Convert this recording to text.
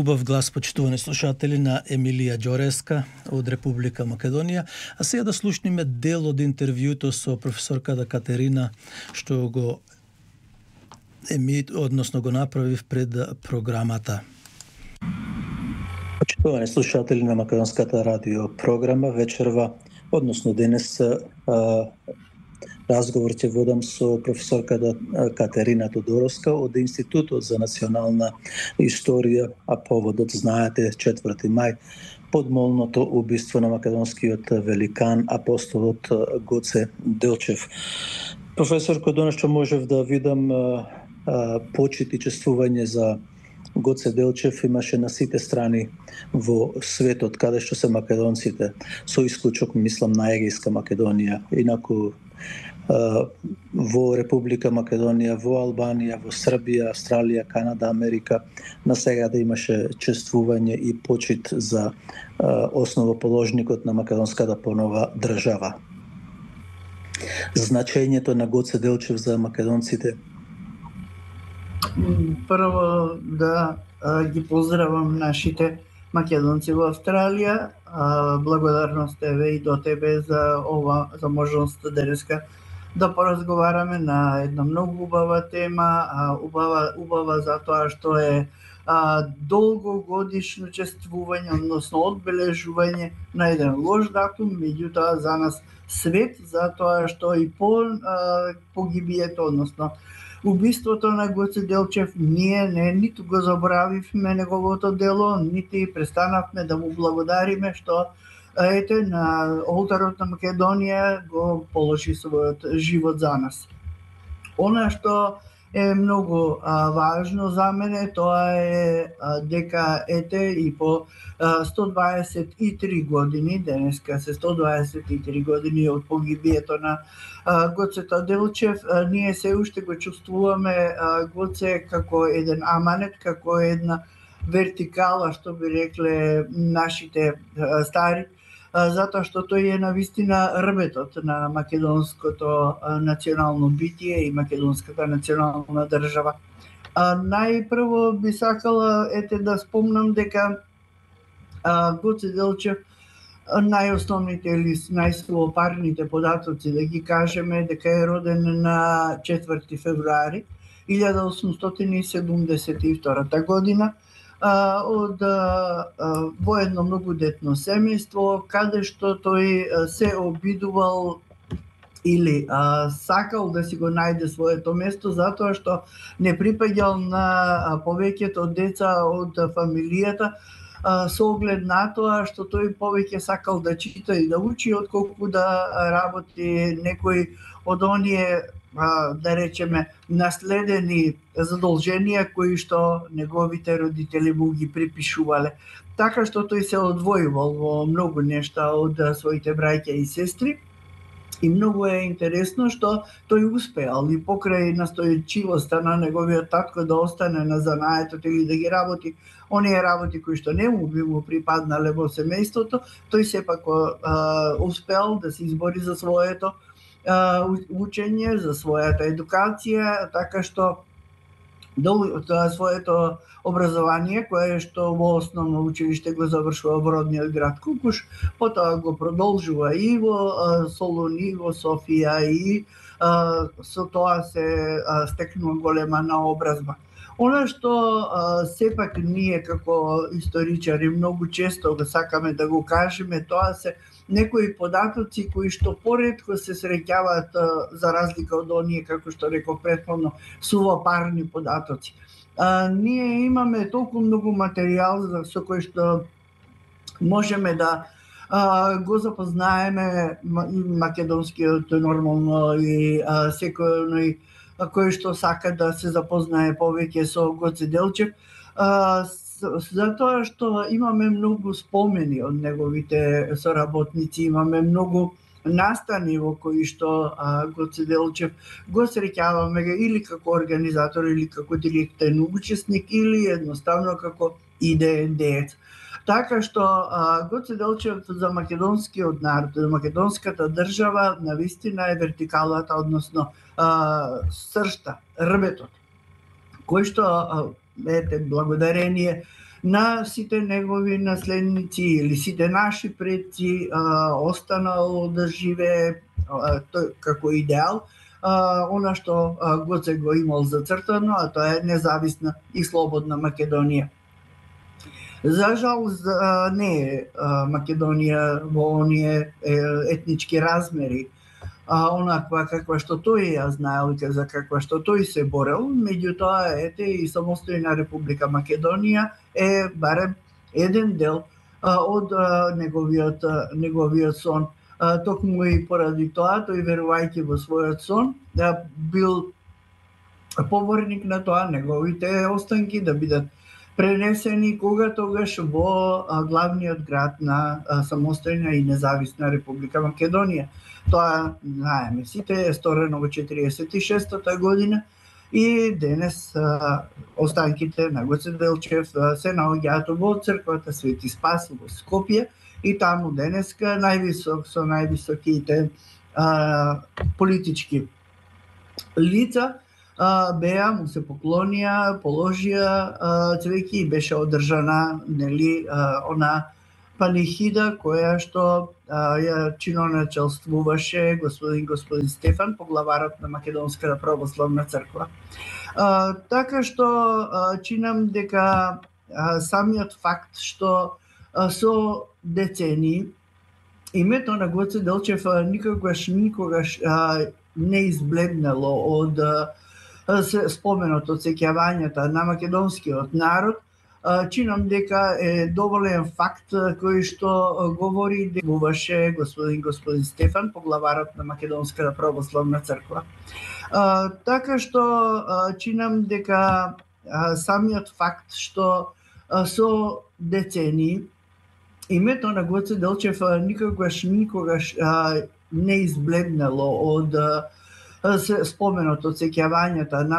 Убав глас, почитувани слушатели, на Емилија Ѓореска од Република Македонија. А сега да слушниме дел од интервјуто со професорката Катерина, што го го направив пред програмата. Почитувани слушатели на Македонската радио програма, вечерва, односно денес, разговор ќе водам со професорката Катерина Тодоровска од Институтот за национална историја, а поводот, знаете, 4 мај, подмолното убиство на македонскиот великан, апостолот Гоце Делчев. Професорко, донешто можев да видам почит и чествување за Гоце Делчев имаше на сите страни во светот, каде што се македонците, со исклучок, мислам, на Егејска Македонија. Инаку во Република Македонија, во Албанија, во Србија, Австралија, Канада, Америка, на сега да имаше чествување и почит за основоположникот на македонската понова држава. Значењето на Гоце Делчев за македонците? Прво да ги поздравам нашите македонци во Австралија. Благодарност еве и до тебе за можноста денеска да поразговараме на една многу убава тема, убава затоа што е долгогодишно чествување, односно одбележување на еден лош датум, меѓутоа за нас свет, затоа што и по погибието, односно убиството на Гоце Делчев, ние ниту го заборавивме неговото дело, нити престанавме да му благодариме што на олтарот на Македонија го положи својот живот за нас. Она што е многу важно за мене, тоа е дека и по 123 години, денеска се 123 години од погибието на Гоцето Делчев, ние се уште го чувствуваме Гоце како еден аманет, како една вертикала, што би рекле нашите стари, затоа што тој е навистина рбетот на македонското национално битие и македонската национална држава. Најпрво би сакала да спомнам дека Гоце Делчев, најосновните или најсловопарните податоци да ги кажеме, дека е роден на 4 февруари 1872 година во едно многу детно семејство, каде што тој се обидувал или сакал да си го најде своето место, затоа што не припаѓал на повеќето деца од фамилијата, со оглед на тоа што тој повеќе сакал да чита и да учи, отколку да работи некој од оние, да речеме, наследени задолженија кои што неговите родители му ги припишувале. Така што тој се одвојувал во многу нешта од своите браќа и сестри. И многу е интересно што тој успеал и покрај настојчивоста на неговиот татко да остане на занаетот или да ги работи оние работи кои што не му би му припаднале во семејството, тој сепак успеал да се избори за своето учење, за својата едукација, така што своето образование, кое што во основно училиште го завршува во родниот град Кукуш, потоа го продолжува и во Солун, и во Софија, и со тоа се стекнува голема наобразба. Она што сепак ние како историчари многу често го сакаме да го кажеме, тоа се некои податоци кои што поретко се среќаваат, за разлика од оние, како што реков претходно, сувопарни податоци. Ние имаме толку многу материјал со кој што можеме да го запознаеме македонскиот нормално и секој кој што сака да се запознае повеќе со Гоце Делчев, затоа што имаме многу спомени од неговите соработници, имаме многу настани во кои што Гоце Делчев го среќаваме или како организатор, или како директен учесник, или едноставно како идеен деец. Така што Гоце Делчев за македонскиот народ, за македонската држава, навистина е вертикалата, односно сршта, рбетот, кој што благодарение на сите негови наследници или сите наши предци останало да живее како идеал, она што Гоце го имал зацртано, а тоа е независна и слободна Македонија. За жал не е Македонија во оние етнички размери, онаква каква што тој ја знаел и за каква што тој се борел, меѓутоа ете и самостојна Република Македонија е барем еден дел од неговиот сон. Токму и поради тоа, тој верувајќи во својот сон, бил поборник на тоа неговите останки да бидат пренесени кога тогаш во главниот град на самостојна и независна Република Македонија. Тоа, знаеме сите, е сторено во 46-та година и денес останките на Гоце Делчев се наоѓаат во црквата Свети Спас во Скопје и таму денеска со највисоките политички лица беа, му се поклонија, положија цвеќе и беше одржана она панихида која што ја чиноначелствуваше господин Стефан, поглаварот на Македонската православна црква. Така што чинам дека самиот факт што со децении името на Гоце Делчев никогаш не избледнало од споменот од сеќавањата на македонскиот народ. Чинам дека е доволен факт кој што говори дека буваше господин Стефан, поглаварот на Македонската православна црква. Така што чинам дека самиот факт што со децении името на Гоце Делчев никогаш не избледнало од споменот од сеќавањата на